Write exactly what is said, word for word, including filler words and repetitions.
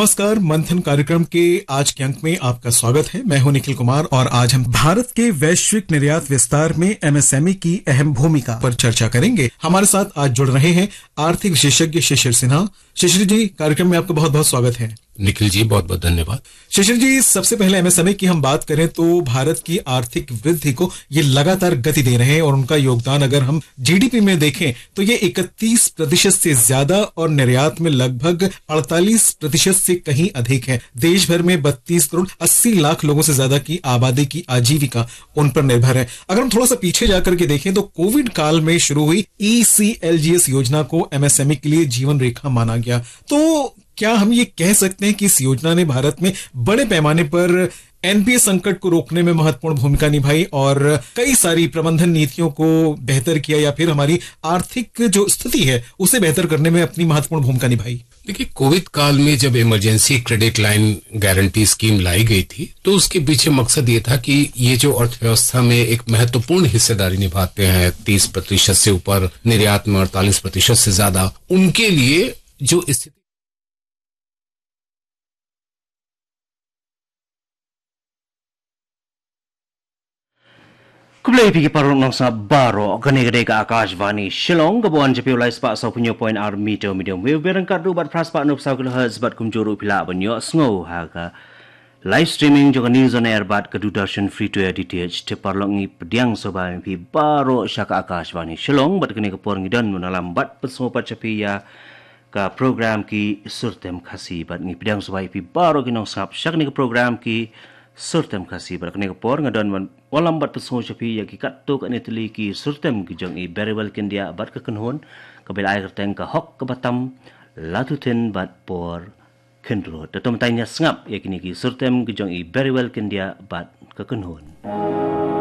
नमस्कार, मंथन कार्यक्रम के आज के अंक में आपका स्वागत है। मैं हूं निखिल कुमार और आज हम भारत के वैश्विक निर्यात विस्तार में एमएसएमई की अहम भूमिका पर चर्चा करेंगे। हमारे साथ आज जुड़ रहे हैं आर्थिक विशेषज्ञ शिशिर सिन्हा। शिशिर जी, कार्यक्रम में आपका बहुत बहुत स्वागत है। निखिल जी, बहुत बहुत धन्यवाद। शिशिर जी, सबसे पहले एमएसएमई की हम बात करें तो भारत की आर्थिक वृद्धि को ये लगातार गति दे रहे हैं और उनका योगदान अगर हम जीडीपी में देखें तो ये इकतीस प्रतिशत से ज्यादा और निर्यात में लगभग अड़तालीस प्रतिशत से कहीं अधिक है। देश भर में बत्तीस करोड़ अस्सी लाख लोगों से ज्यादा की आबादी की आजीविका उन पर निर्भर है। अगर हम थोड़ा सा पीछे जाकर के देखें तो कोविड काल में शुरू हुई ईसीएलजीएस योजना को एमएसएमई के लिए जीवन रेखा माना गया। तो क्या हम ये कह सकते हैं कि इस योजना ने भारत में बड़े पैमाने पर एनपीए संकट को रोकने में महत्वपूर्ण भूमिका निभाई और कई सारी प्रबंधन नीतियों को बेहतर किया या फिर हमारी आर्थिक जो स्थिति है उसे बेहतर करने में अपनी महत्वपूर्ण भूमिका निभाई? देखिए, कोविड काल में जब emergency credit line guarantee scheme लाई गई थी, तो उसके पीछे मकसद ये था कि ये जो अर्थव्यवस्था में एक महत्वपूर्ण हिस्सेदारी निभाते हैं, तीस प्रतिशत से ऊपर निर्यात में, अड़तालीस प्रतिशत से ज्यादा, उनके लिए जो स्थिति Khublei phi ki paralok nongsngap baroh, kane ka dei ka Akashvani Shillong, ka ban wan sha phi u lai spah saw phew hynñiew point ar meter medium wave, bad ryngkat ruh bad phra spah hynñiew phew saw kilohertz, bad kumjuh ruh phi lah ban ïohsngew ha ka live streaming jong ka News on Air bad ka Doordarshan Free to Air D T H. Te paralok, ngi pdiang sngewbha ïa phi baroh sha ka Akashvani Shillong, bad kane ka por ngi don ban wallam bad pynsngew pat sha phi ïa ka program Ki Surtem Khasi, bad ngi pdiang sngewbha ïa phi baroh ki nongsngap sha kane ka program Ki Surtem Khasi. Bad kane ka por nga don ban wallam bad pynsngew sha phi ïa ki katto katne tylli ki surtem ki jong i Berewel Kyndiah bad ka kynhun, kaba la ai kyrteng Ka Hok Kaba Tam, Lad Uthin bad Por Khynrut. Te to mynta ngin ïa sngap ïa kine ki surtem ki jong i Berewel Kyndiah bad ka kynhun.